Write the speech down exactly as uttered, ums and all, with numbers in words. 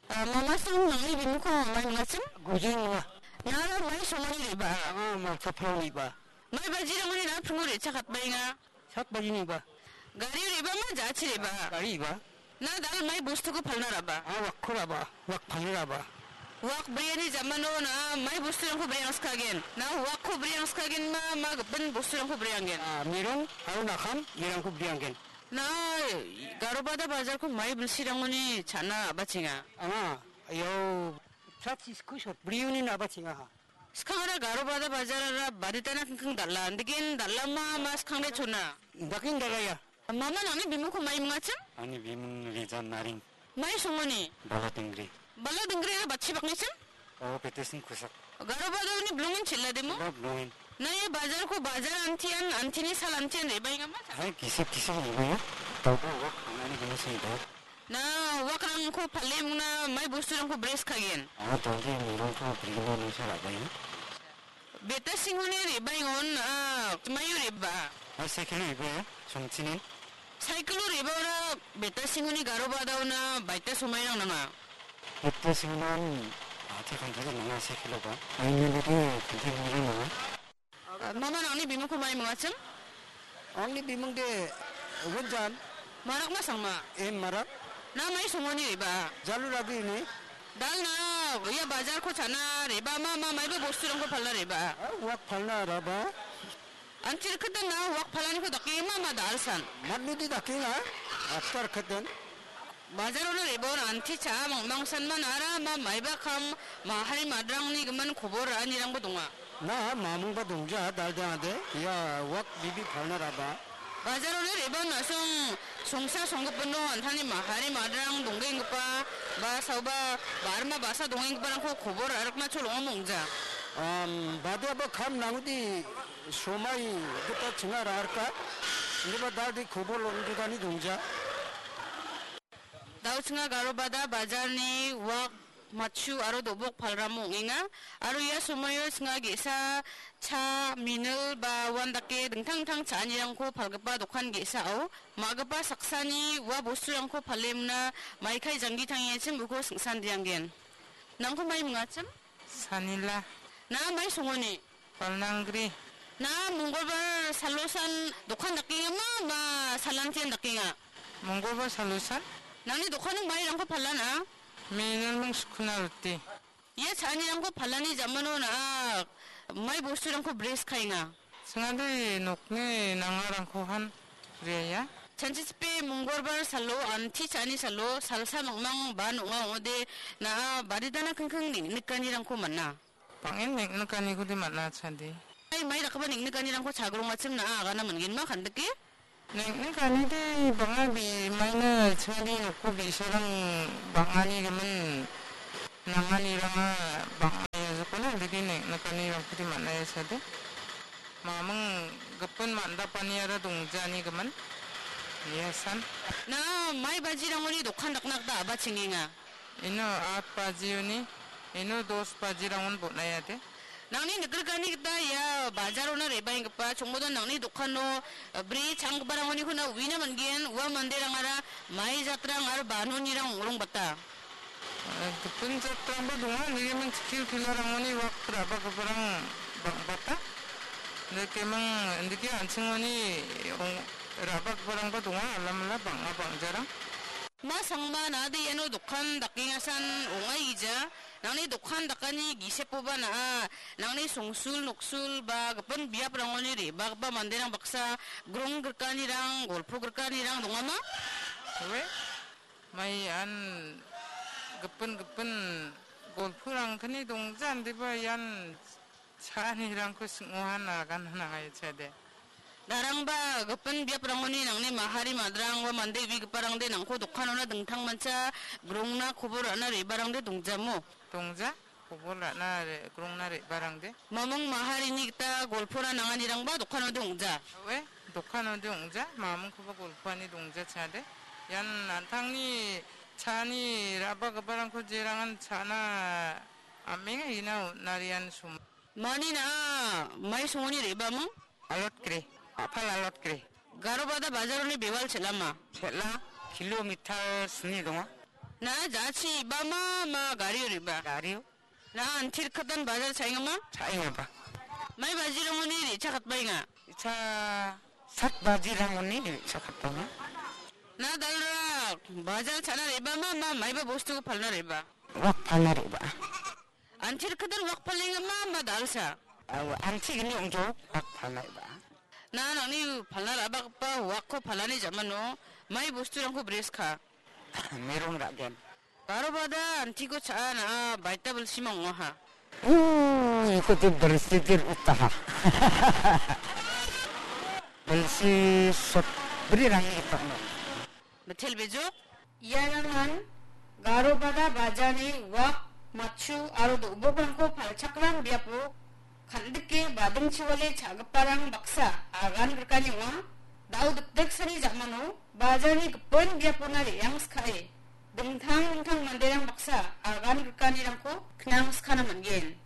Ah, mamasang nangni bimungko mamai mingachim? Gujing ong·a. Nara mai songoni re·baa? Anga Malsapalni re·baa. Mai bajirangoni na·a pringo re·chakatbaenga? Sak bajiniba. Gario re·baa ma ja·achi re·baa? Gariba. Na dal mai bostuko palna ra·baa? Anga wakko ra·baa, wak palna ra·baa. Wak briani jamano na mai bosturangko briangskagen? Na wakko briangskagen ma, ma gipin bosturangko brianggen? Ah, mirong aro nakam, mirangko brianggen. Na Garobada bajarko mai bilsirangoni cha·na a·bachenga? Anga, iao, plat sisko sot brioni na·bachengaha. Skangara Garobada bajarara baditana kingking dal·a. Indigen dal·a ma, ma skangde chona? Indigen dal·aia. Mama nangni bimungko mai mingachim? Angni bimung Rijan Naring. Mai songoni? Bala Dengri. Bala Dengri era batchi baknichim? Oh, Petersing Kusak. Garobada uni bilongan chila demo? Chila bilongan. Na ia bajarko bajar antian, antini sal antian re·baenga ma? Hai, kisip kisip re·baenga. Tahu wak angani gini sini tahu. Na wakrangko pale mingna mai bosturangko breskagen? Anga tangki mirongko brigina nungsa ra·baenga. Beta singoni re·baengon, ah, maio re·baa? Ah, sekilo re·baenga, songchinin. Saikilo re·baora beta singoni Garobadaona baita somairang nanga? Beta singon, ah, te kantari nanga sekiloba. Aini lidi kantari nanga. Ah, mama nangni bimungko mai mingachim? Angni bimung de Gunjan. Marak ma sangma? Em Marak. Na mai songoni re·baa? Jalu Ragi ini. Dal na ia bajarko cha·na re·baa ma, ma maiba bosturangko palna re·baa? Ah, wak palna ra·baa. Antir keten na wak palaniko dakenga ma, ma dal san? Matnidi dakenga, after keten. Bajarona re·baon anti cha·a mangmangsan man ara ma maiba kam mahari madrangni gimin kobor ra·anirangba donga. Na mamungba dongja dal dengade. Ia wak bibi palna ra·baa. Bajarona re·baon na·song songsa songgipino antani mahari madrang donggenggipa ba saoba barma basa dongenggiparangko kobor ra·rikna cholonga mongja. Am, badiaba kam nangudi somai gita chinga ra·rika. Indiba daldi kobor lonjodani dongja. Dauchinga Garobada bajarni wak, matchu aro do·bok palramo ong·enga. Aro ia somoio chinga ge·sa cha, minil ba uandake dingtang dingtang cha·anirangko palgipa dokan ge·sao ma·gipa saksani ua bosturangko palemna maikai janggi tangenchim uko singsandianggen. Nangko mai mingachim? Sanila. Na mai songoni? Palnangri. Na mongolbar salosan dokan dakenga ma, ma salantian dakenga? Mongolbar salosan. Nangni dokano mairangko palana? Minilming sukuna roti. Ia cha·anirangko palani jamano na·a mai bosturangko breskaenga? Chingade nokni nangarangkohan briaia. Chanchichipe mongolbar salo, anti cha·ani salo, salsa mangmang ba nong·a ong·ode na·a baditana kingking neng·nikanirangko man·a. Bang·en neng·nikaniko de man·a chade. Ai, mai dakgipa neng·nikanirangko chagrongachim na·a agana man·genma kandike? Neng·nikani de bang·a bi-, maina chade nokko bi·sarang bang·ani gimin nanganiranga bang·a ia jokona dike neng·nikanirangko de man·a ia chade. Maming gipin man·dapaniara dongjani gimin. Ia san. Na mai bajirangoni dokan dakna gita a·bachengenga. Ino at bajioni, ino dos bajirangon bon·aiade. Nangni nikgitani gita ia bajarona re·baenggipa chongmodon nangni dokano, eh, bri changgiparangoniko na uina man·gen, ua manderangara mai jatrang aro banonirang ong·rongbata. Eh, gipin jatrangba donga, nigimin chikil pilarangoni wak ra·bagiparang bang·bata. Indikemang, indike an·chingoni ong-, ra·bagiparangba donga, alamala bang·a bang·jarang. Ma sangma nade iano dokan dakengasan ong·aigija. Nangni dokan dakani gisepoba na·a, nangni songsul noksul ba gipin biaprangoni re·bagipa manderang baksa grong grikanirang, golpo grikanirang dongama? Oe, mai ian gipin gipin golporangkani dongja, indiba ian cha·anirangko sing·ohan agana nangaia chade. Darangba gipin biaprangoni nangni mahari madrang ba mande uigiparangde nangko dokanona dingtangmancha grongna kobor ra·na re·barangde dongjamo? Dongja, kobor ra·na re-, grongna re·barangde. Mamung maharini gita golpona nanganirangba dokanode ong·ja. Oe, dokanode ong·ja, mamungkoba golpoani dongja chade. Ian an·tangni cha·ani ra·bagiparangko jerangan cha·na am·enga ina on·arian som- Mani na·a mai songoni re·baming? Alot kre, a·pal alot kre. Garobada bajaroni bewal chel·ama? Chel·a, kilometer sni donga. Na jachi ibama ma gario riba? Gario. Na antir katan bajar chaingama? Chaingaba. Mai bajirangoni re·chakatbaenga? Icha sat bajirangoni re·chakatbaenga. Na dalra bajar chana re·bama ma maiba bostuko palna re·ba? Wak palna re·ba. Antir katan wak palengama ma dalsa? Awa, antigni ongjo wak palna re·ba. Na nangni palna ra·bagipa wakko palani jamano mai bosturangko breska? Merong ra·gen. Garo bada antiko cha·a na·a baita bilsima ong·aha. Ui, iko tu bilsi dir utaha. Bilsi sotbri rangi ipakno. Mitel bejok? Iarangan Garo bada bajarni wak, matchu aro do·bokrangko palchakram biapo kan·dike badingchiwale cha·giparang baksa agan rikani ong·a. Da·o dikdeksani jamano bajarni gipin biapona re·angskae dingtang dingtang manderang baksa agan rikanirangko knangskana man·gen.